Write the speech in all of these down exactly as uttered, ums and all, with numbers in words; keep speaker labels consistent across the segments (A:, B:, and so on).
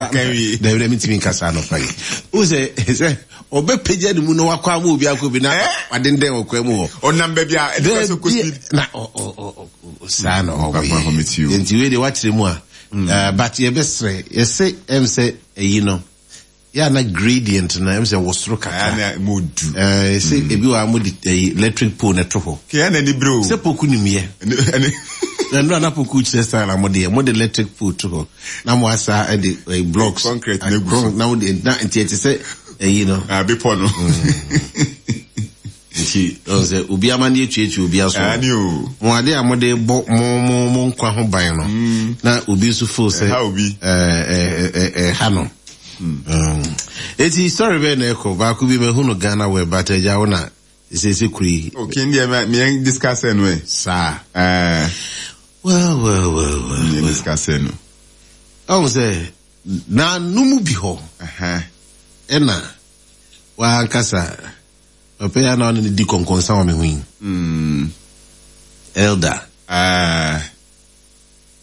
A: Dabi, dabi, ntumi nkasa anɔpa yi. Wo sɛ sɛ ɔbɛpagya ne mu na wakɔ ama obi akɔ bi na wadendɛn wɔ kwan mu hɔ.
B: Ɔnam baabi a ɛde sɛ kɔ speed.
A: Na ɔ ɔ ɔ saa na ɔwɔ. Nti wei de wakyerɛ mu a, but yɛbɛsrɛ, yɛsɛ ɛm sɛ ɛyi no yɛ na gradient no ɛm sɛ wɔ soro kakra.
B: Ɛna mo du.
A: Ɛɛ sɛ ebi wɔ a mo de ɛyi electric pole na ɛto hɔ.
B: Kɛ ɛna ni bere o.
A: Sɛ poku nim yɛ.
B: Ɛne.
A: Na nnura na poku kyerɛ style a mo de yɛ, mo de electric pole to hɔ na mo asa ɛde ɛyi blocks.
B: Concrete na egu so.
A: Na mo de na nti ɛte sɛ ɛyi no.
B: Abepɔ no.
A: Nti ɔn sɛ obi ama ne etuatua obi aso.
B: Ɛne o.
A: Mo ade a mo de bɔ mo mo mo nkwa ho ban no. Na obi nso fo sɛ.
B: Ɛha obi.
A: Ɛɛ ɛɛ ɛha no. Eti story bɛyɛ na ɛkɔ baako bi mɛhu no Ghana Web, but ɛgya wo na ɛsɛsɛ kuro yi.
B: Okay, ndiɛ mɛ mɛ discuss no ɛ.
A: Saa.
B: Ɛɛ.
A: Well, well, well, well.
B: Mɛ discuss no.
A: Ɔn sɛ naanum bi hɔ. Ɛna wankasa ɔpɛ ya na ɔne ne di kɔnkɔnsa wɔ me ho yi.
B: Mm.
A: Elder.
B: Ah.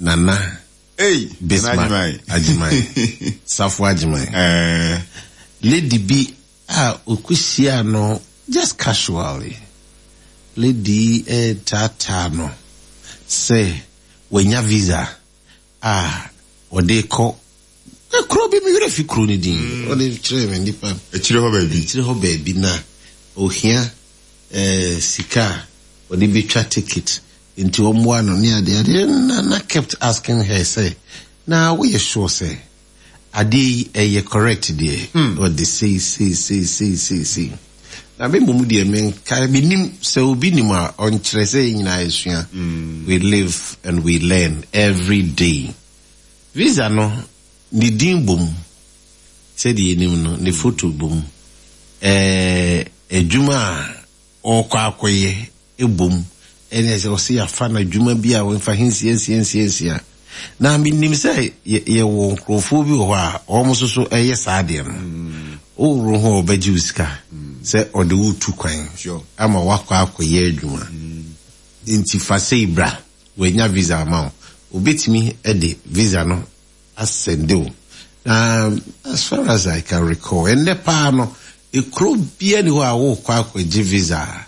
A: Nana.
B: Hey,
A: Bismarck Ajiman. Safo Ajiman.
B: Eh.
A: Lady bi a okuhyia no just casually. Lady eh tata no sɛ wanya visa a ɔde kɔ kuro bi, mi werɛ fi kuro ne din. Ɔde kyerɛ me nipa.
B: Akyire hɔ baabi.
A: Akyire hɔ baabi na ohia eh, sika a ɔde betwa ticket nti ɔmmoa no ne ade ade. na na kept asking her sɛ, na woyɛ sure sɛ adeɛ yi ɛyɛ correct deɛ? Ɔde sei sei sei sei sei sei na me mmom deɛ, menka menim sɛ obi nim a ɔnkyerɛ sɛ yɛn nyinaa yɛsua. We live and we learn every day. Visa no, ne din bom, sɛdeɛ yɛnim no, ne photo bom, ɛɛ adwuma a ɔrekɔ akɔyɛ ebom, ɛne sɛ ɔsɛ yɛafa no adwuma bi a wɔmfa he nsia nsia nsia nsia. Na menim sɛ yɛwɔ nkurɔfoɔ bi wɔ hɔ a wɔn nso so ɛyɛ saa adeɛ no. Woworo ho a, ɔbɛgye wo sika sɛ ɔde wo tu kwan ama wakɔ akɔyɛ adwuma. Nti fa sei bra, wanya visa ama wo, obetumi de visa no asɛnde wo. Na as far as I can recall, ɛnnɛ paa no, ekuro bia ni hɔ a wokɔ akɔgye visa a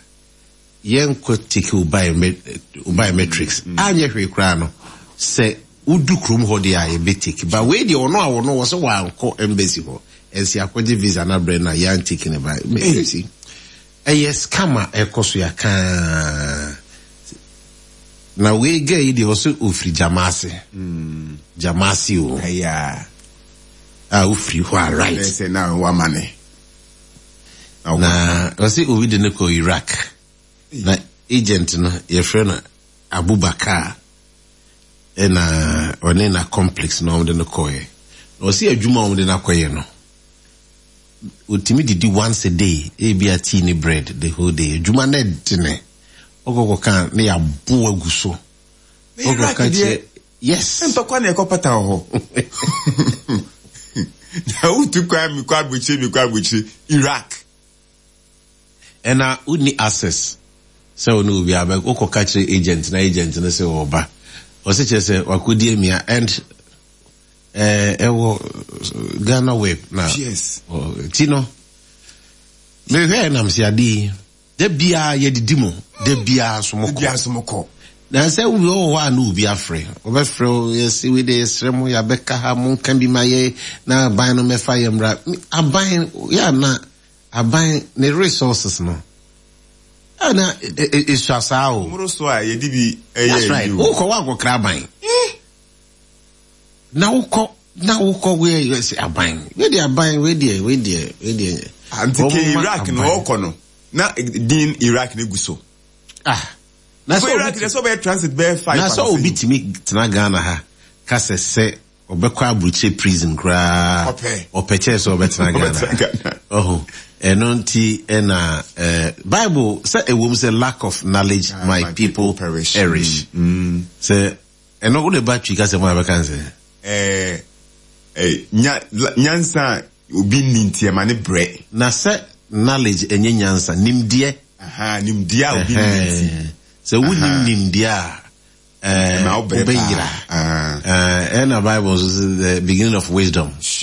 A: yɛnkɔ take wo biometrics. Anyɛ hwee koraa no, sɛ wodu kurom hɔ deɛ a, yɛbɛ take ba. Wei deɛ, ɔno a wɔno wɔ sɛ wankɔ embassy hɔ ɛnsi akɔgye visa na brɛ no a, yɛan take ne ba. Ɛyɛ scam a ɛkɔ so yɛakaa. Na wei girl yi deɛ, ɔsɛ ofiri Jamase. Jamase o.
B: Ɛyà.
A: A ofiri hɔ a, right.
B: Ɛsɛ na wama ne.
A: Na ɔsɛ obi de ne kɔ Iraq na agent no yɛfrɛ no Abubakar, ɛna ɔne na complex na ɔmde no kɔɛ. Na ɔsɛ adwuma a ɔmde no akɔyɛ no, otumi didi once a day, ebi a tea ne bread the whole day. Adwuma no ɛdene, ɔkɔkɔ kan ne yɛabo agu so. Ɔkɔka kyerɛ, yes.
B: Ntɔkwa na ɛkɔ pata wɔ hɔ na wotu kwan mi kɔ abukyire mi kɔ abukyire Iraq.
A: Ɛna wonni access sɛ wo ne obi abɛ wokɔka kyerɛ agent na agent no sɛ ɔba, ɔsɛ kyerɛ sɛ wakɔdi amia and ɛwɔ Ghana Web na
B: yes
A: ti no mehwɛ nam sɛ ade yi, da biara yɛdidi mu, da biara so mokɔ.
B: Biara so mokɔ.
A: Na sɛ wobi wɔ hɔ a na obi afrɛ, wɔbɛfrɛ wo, yɛsɛ wei de, yɛsrɛ mo, yɛabɛka ha, monka bi ma yɛ na aban no mɛfa yɛ mmra. Aban yɛ ana aban ne resources no ɛna esua saa o.
B: Mmoro so a yɛde bi ɛyɛ.
A: That's right. Wokɔ wankɔkra aban na wokɔ na wokɔ wei yɛ sɛ aban wei deɛ, aban wei deɛ, wei deɛ, wei deɛ.
B: Nti ke Iraq no ɔkɔ no na din Iraq ne gu so.
A: Ah,
B: na sɛ Iraq deɛ, sɛ ɔbɛyɛ transit bɛyɛ five.
A: Na sɛ obi tumi tena Ghana ha kasa sɛ ɔbɛkɔ aburukyire prison koraa, ɔpɛ kyɛɛ sɛ ɔbɛtena Ghana. Ɔho ɛno nti ɛna ɛɛ Bible sɛ ɛwɔ mu sɛ lack of knowledge ah, my people perish.
B: Mm.
A: Sɛ ɛno wode ba Twi kasa mu a, bɛka sɛ
B: ɛɛ ɛɛ nya nyansa a obi ni nti ɛma ne brɛ.
A: Na sɛ knowledge ɛnyɛ nyansa, nimdeɛ.
B: Nimdeɛ a obi ni nti.
A: Sɛ wonim nimdeɛ a,
B: ɛma wo brɛ.
A: Wobɛyera. Ɛna Bible nso sɛ the beginning of wisdom.